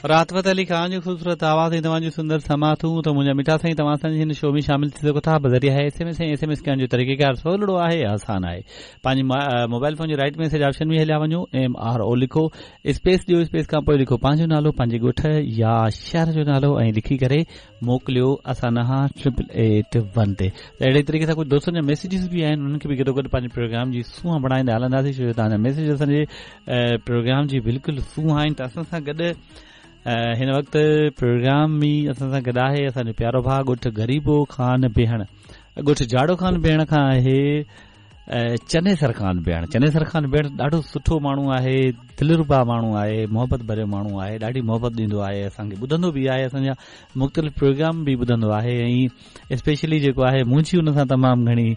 راحت فتح علي خان جو خوبصورت آواز ۽ توهان جون سندر سماعتون ته منهنجا مٺا سائين توهان اسان جي هن شو ۾ شامل ٿي سگهو ٿا بذريعه S M S ۽ S M S ڪرڻ جو طريقيڪار سولڙو آهي آسان آهي پنهنجي موبائل فون جي رائٽ ميسج آپشن ۾ هليا وڃو ايم آر او لکو اسپيس ڏيو اسپيس کان پوء لکو پنهنجو نالو پنهنجي ڳوٺ يا شهر جو نالو ۽ لکي ڪري موڪليو اسان ڏانهن 8881 تي ته اهڙي طريقي سان ڪجهه دوستن جا ميسيجز به آهن انهن کي به گڏو گڏ پنهنجي پروگرام جي سونهن بڻائيندا هلنداسين ڇو جو توهان جا ميسيج اسان جي پروگرام جي بلڪل سونهن آهن ته اسان سان گڏ هن وقت پروگرام ۾ اسان سان گڏ آهي اسان جو پيارو ڀاء ڳوٺ غريبو خان بيهڻ ڳوٺ جاڙو خان بيهڻ کان آهي چنيسر خان بيهڻ چنيسر خان بيهڻ ڏاڍو سٺو ماڻهو آهي دلربا ماڻهو آهي محبت ڀريو ماڻهو آهي ڏاڍي محبت ڏيندو آهي اسان کي ٻڌندو به آهي اسان جا مختلف پروگرام به ٻڌندو آهي ۽ اسپيشلي جيڪو آهي منهنجي ان سان تمام گهڻي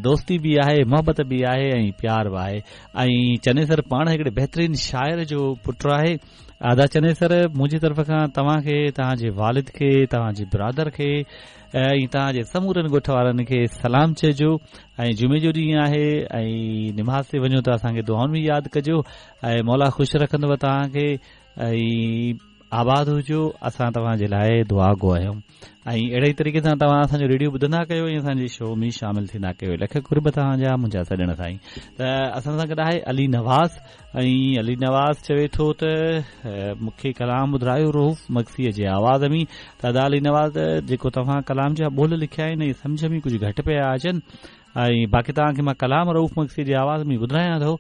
دوستي به آهي محبت به آهي ۽ پيار به آهي ۽ چنيسر پاڻ هڪڙي بهترين شاعر جو پٽ آهي ادا چنيسر منهنجي طرف کان توهان کي توهان جي والد کي توهان جي برادر کي ۽ توهان جي سمورن ڳوٺ وارن کي سلام چئجو ۽ جمعي جو ڏينهن آهي ۽ نماز تي وڃو ته اسان کي دعائن ۾ ياد ڪجو ۽ مولا خوش رکندو توهان کي ۽ آباد هجو اسان توهان جي لاء دعا گو آهيون ۽ اهڙي ئي طريقي سان توهان اسان جو ريڊيو ٻڌندا ڪيو ۽ اسان جي شو ۾ شامل ٿيندا ڪيو لک قرب توهان جا منهنجا سڄڻ سائين ته اسان سان گڏ آهي علي نواز ۽ علي نواز چوي ٿو ته مون کي ڪلام ٻڌرايو رئوف مگسيء جي آواز ۾ ته ادا علي نواز جيڪو توهان ڪلام جا ٻول لکيا آهن اهي سمجهه ۾ ڪجهه گهٽ پيا اچن ۽ باقي توهان کي مان ڪلام رئوف مگسيء جي آواز ۾ ٻڌرايان ٿو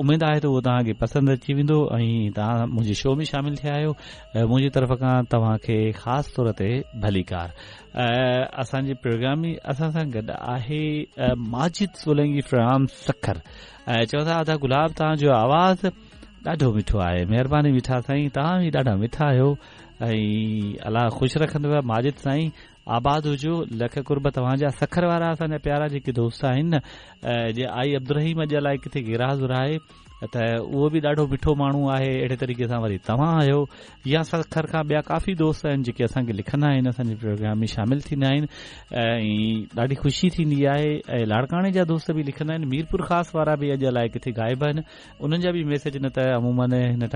اميد آهي ته اهو توهان کي پسند اچي ويندو ۽ توهان منهنجي شو ۾ شامل ٿيا آهيو منهنجي طرف کان توهان کي خاص طور تي ڀليڪار اسان جي پروگرام ۾ اسان سان گڏ آهي ماجد سولنگي فرام سکر چون ٿا ادا گلاب توهان جو آواز ڏاڍو مٺو آهي مهرباني مٺا سائين توهان به ڏاڍا مٺا آهيو ۽ الله خوش رکندو ماجد سائين آباد هجو لک قرب توهان جا سکر وارا اسان جا پيارا جيڪي دوست آهن نه جي آئي عبدالرحيم اڄ الائي ڪٿي غير حاضر آهي ته اهو به ڏاڍو مٺو ماڻهو آهي اهڙي طريقي سان وري توهان آهيو يا سکر کان ٻيا ڪافي دوست آهن جيڪي اسان کي لکندا آهن اسان جي پروگرام ۾ شامل ٿيندا آهن ۽ ڏاڍي خوشي ٿيندي آهي ۽ لاڙڪاڻي جا دوست به لکندا آهن ميرپور خاص وارا به اڄ الائي ڪٿي غائب آهن انهن جا به ميسيج نه ته عمومن هن